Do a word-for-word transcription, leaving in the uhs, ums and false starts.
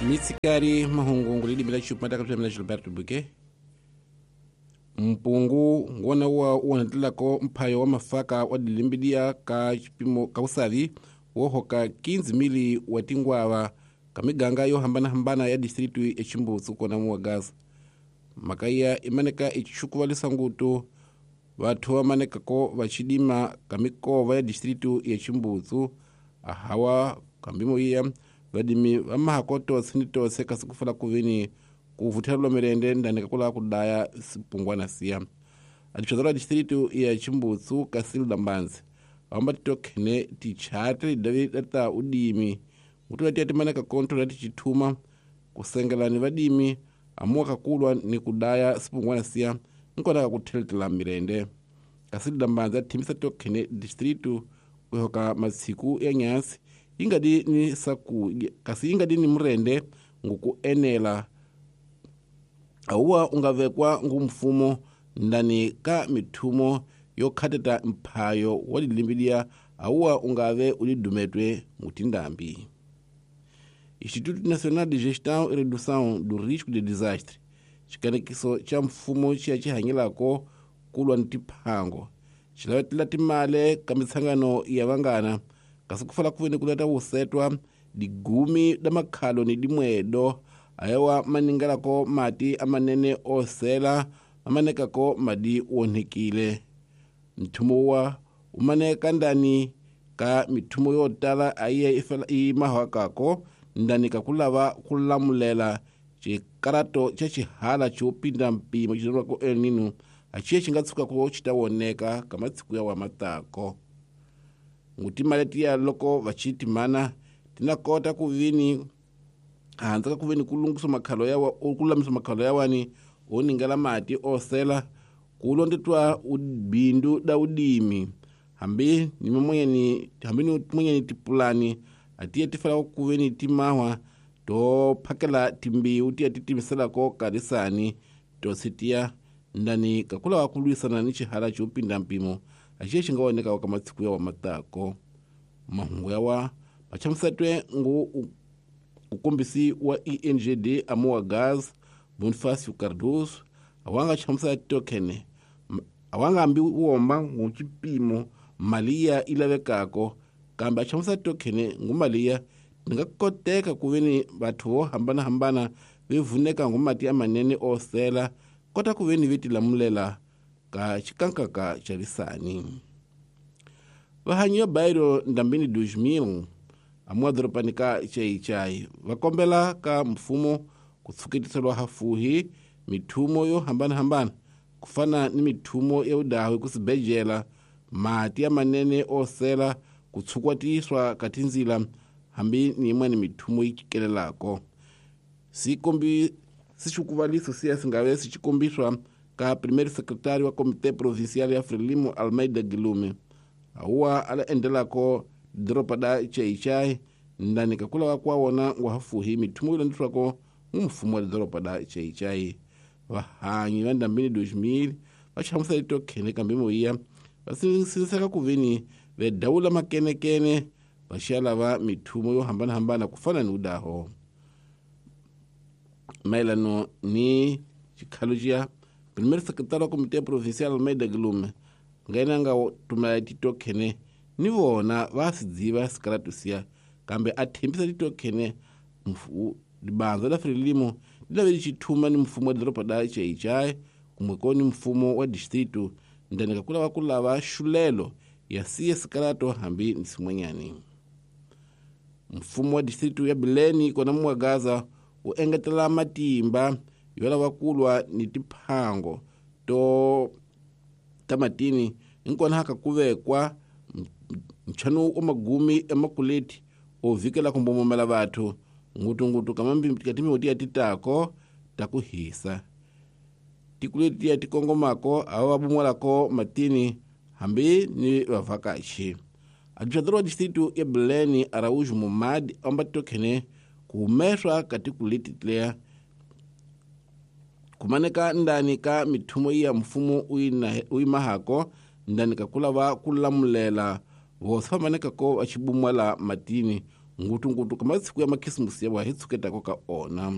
Mitsikari mahungu lilimi la xupata ka mina Gilberto Buke mpungu ngona wa uonatelako mphayo wa mafaka wa dilimbidia ka chipimo ka usavi wo hoka quinze mili wa tingwava ka miganga yo hambana-hambana ya distritu ya Chimbutsu kona muwa Gaza makaya imaneka ichukuvalisa ngutu vathu vamanekako vachidima ka mikova ya distritu ya Chimbutsu ahawa kambimo iya vadimi vamahako tose ni tose kasi kufala kuvini kuvuthelwa mirende ndani kakula kudaya sipungwana siya adipsazalwa distritu ya Chimbutsu kasilda mbanzi vamba titokhene tichate davi data udimi ngutula tiya timaneka konto lati chithuma kusengelani vadimi amuwa kakulwa ni kudaya sipungwana siya nkona kakutheltela mirende kasilda mbanzi athimbisa tokhene distritu kuhoka matsiku ya nyasi ingadi ni saku kasi ingadi ni murende ngukuenela awuwa ungavekwa ngumfumo ndani ka mithumo yo khateta mphayo wa dilimbidia awuwa ungave ulidumetwe ngutindambi. Instituto Nacional de Gestão e Redução do Risco de Desastre xikanekiso xa mfumo xiya xi hanyelako kulwa ni tiphango xilavetela timale ka mitshangano ya vangana kasi kufala kuveni kulata wusetwa digumi da makhalo ni dimwedo ayawa maningalako mati amanene osela amanekako madi wonhekile mthumo wa umaneka ndani ka mithumo yo tala ayiye imahakako ndani kakulava kulamulela xikarato xa xihala xo pinda mpimo xi El Nino axiye xi nga tshuka ku xi ta woneka ka matsiku ya wa matako ngutimali tiya loko vaxitimana tina kota ku vini handza ka ku veni ku lunghisa makhalo ya wa ku lulamisa makhalo ya wani o ningela mati osela ku londetwa ubindu da udimi hambi ni mumonyeni hambi ni mumonyeni tipulani atiye tifela ku veni timahwa to phakela timbiwu tiya titimiselako karisani to sitiya ndani kakula wa kulwisana ni xihala xo pinda mpimo axiye xi nga woneka ka matsiku ya wa matako mahungu ya wa machamusetwe ngu ukombisi wa E N G D amuwa Gaz Bonifacio Cardoso awanga chamusa token awanga ambi womba ngu chipimo mali ya ilavekako kambe achamusa token ngu mali ya nga koteka kuveni vathu vo hambana-hambana vevuneka ngu mati amanene osela kota kuveni vetilamulela ka xikankaka xa lisani. Vahanyi ya bairo ndambini dois mil amuwa doropani ka Xai-Xai va kombela ka mfumo ku tshuketiselwa hafuhi mithumo yo hambana-hambana ku fana ni mithumo ya udahu ku sibejela mati ya manene osela ku tshukwatiswa ka tindzila hambi ni yin'wana mithumo yi cikelelako sikombi sixukuvaliso siya singave sixikombiswa ka primeiro secretário wa Comité Provincial ya Frelimo Almeida Guilherme awuwa ala endelako doropa da Xai-Xai ndani kakula wa kwa wona wa hafuhi mithumo yi landzelako mfumo wa doropa da Xai-Xai vahanyi va ndambini dois mil va chamusela tokhene kambe moya va sinseka ku veni vedawula makenekene va xiya lava mithumo yo hambana-hambana ku fana ni udaho mayelano ni xikhalo xiya primeiro secretário wa Comité Provincial Almeida Guilherme ngena nga tumela titokhene ni vona va swi dziva sikaratu siya kambe a thembisa titokhene libanza la Frelimo li lave xithuma ni mfumo wa doroba da Xai-Xai kumbe ko ni mfumo wa distritu ndani ka ku lava ku lava xulelo ya siya sikarato hambi ni swin'wanyani. Mfumo wa distritu ya Bileni kona muwa Gaza wu engetela matimba yo lava kulwa ni tiphango to ta matini hinkona haka ku vekwa nchanu wa magumi emakuleti o vikela ku mbomomela vathu ngutungutu ka timihoti ya titako ta ku hisa tikuleti ya tikongomako ava va bumolako matini hambi ni vavhakachi. Administrador wa distritu ya Bileni Araújo Momad amba tokhene ku humeswa ka tikuleti tlea kumaneka ndani ka mithumo ya mfumo uyimahako ndani ka kulava ku lamulela vosi va manekako va xibumwela matini Ngutungutu ka masiku ya makhisimusi ya wa hi tshuketako ka ona.